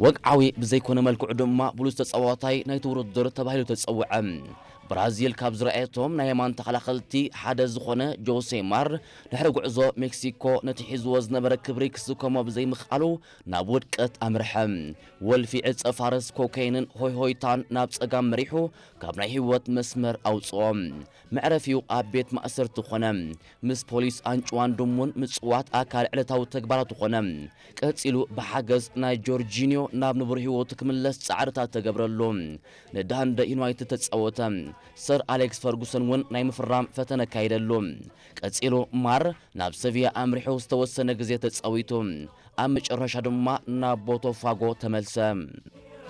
ወግዓዊ ብዘይኮነ መልክዑ ድማ ብሉጽ ተጻዋታይ ናይቲ ውድድር ተባሂሉ ተጸውዐ። ብራዚል ካብ ዝረኣየቶም ናይ የማን ተኸላኸልቲ ሓደ ዝኾነ ጆሴ ማር፣ ድሕሪ ጉዕዞ ሜክሲኮ ነቲ ሒዝዎ ዝነበረ ክብሪ ክስከሞ ብዘይምኽኣሉ ናብ ውድቀት ኣምርሐ። ወልፊ ዕጸ ፋርስ ኮካይንን ሆይሆይታን ናብ ጸጋም መሪሑ ካብ ናይ ህይወት መስመር ኣውጽኦ። መዕረፊኡ ኣብ ቤት ማእሰርቲ ኾነ። ምስ ፖሊስ ኣንጭዋን ድሙን ምጽዋት ኣካል ዕለታዊ ተግባራቱ ኾነ። ቀጺሉ ብሓገዝ ናይ ጆርጂኒዮ ናብ ንቡር ህይወቱ ክምለስ ጻዕርታት ተገብረሉ። ንዳንደ ዩናይትድ ተጻወተ። ሰር ኣሌክስ ፈርጉሰን እውን ናይ ምፍራም ፈተነ ኣካየደሉ። ቀጺሉ ማር ናብ ሰቪያ ኣምሪሑ ዝተወሰነ ግዜ ተጻዊቱ። ኣብ መጨረሻ ድማ ናብ ቦቶፋጎ ተመልሰ።